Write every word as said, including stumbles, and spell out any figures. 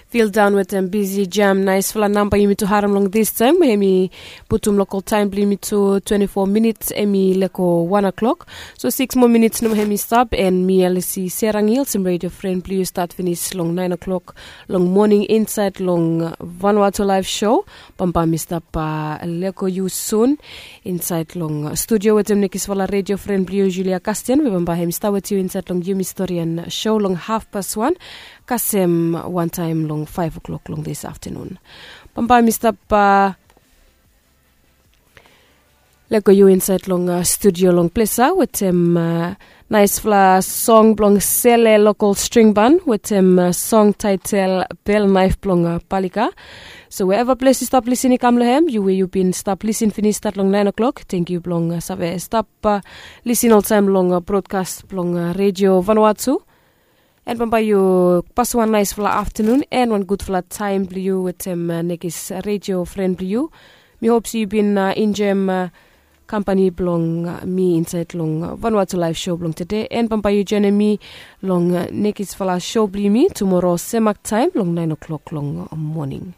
Fildaon wetem bisi jam naisfala namba yumi tu harem long distaem we hem i putum lokol taem blong yumi tu twenti fo minits hem i leko wan o'klok. So siks moa minits nomo hem i stap, an mi elisi serangil olsem redio fren blong yu stat finis long naen o'klok long moning insaed long vanua tu laef sho. Bambae mi stap leko yu sun insaed long studio wetem nekisfala redio fren blong yu, julia kasten, we bambae hem i stap wetem yu insaed long yumi storian sho long hafpas wan kasem wantaem long faef o'klok long dis aftenun. Bambae mi stap leko yu insaed long studio long plesa wetem naisfala song blong sele lokol stringban wetem song taetel bel naef blong palika. So we eva ples yu stap lisin i kam long hem, yu we yu bin stap lisin finis stat long naen o'klok, tengkiu blong save stap lisin oltaem long brodkas blong redio vanua tu. An bambae yu pasim wan naesfala aftenun an wan gudfala taem blong yu wetem nekis redio fren blong yu. Mi hop se yu bin enjoem kampani blong mi insaed long vanua tu laef sho blong tede, an bambae yu joenem mi long nekisfala sho blong yumi tumora semak taem long naen o'klok long moning.